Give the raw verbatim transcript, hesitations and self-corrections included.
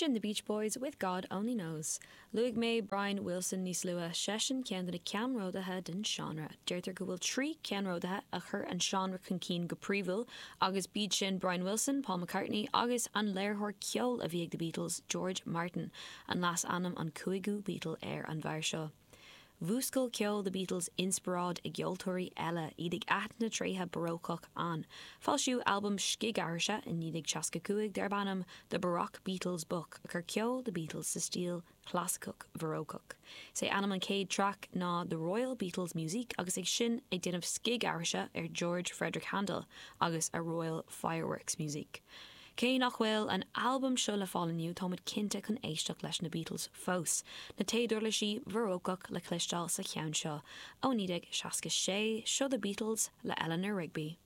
Sin the Beach Boys with God Only Knows. Luaigh mé Brian Wilson níos luaithe seisean ceann de na ceannródaithe den seánra. Deirtear go bhfuil trí ceannródaithe a chur an seánra chun cinn go príomhúil agus b'iad sin Brian Wilson, Paul McCartney agus an léiritheoir ceoil a bhí ag the Beatles, George Martin, an leasainm an cúigiú Beatle ar an bhfear seo. Mhúscail ceol the Beatles inspioráid i gceoltóirí eile iad ag aithint na dtréithe barócach ann. Foilsíodh albam scigaithrise in naoi déag seasca cúig darb ainm The Baroque Beatles Book a chur ceol the Beatles sa stíl chlasaiceach bharócach. Sé ainm an chéad traic ná The Royal Beatles Music agus ag sin ag déanamh scigaithrise ar George Frederick Handel agus a Royal Fireworks Music. Cé nach bhfuil an albam seo le fáil inniu táimid cinnte chun éisteacht leis na Beatles fós. Na téaduirlisí barócach le cloisteáil sa cheann seo ó naoi déag seasca sé seo the Beatles le Eleanor Rigby.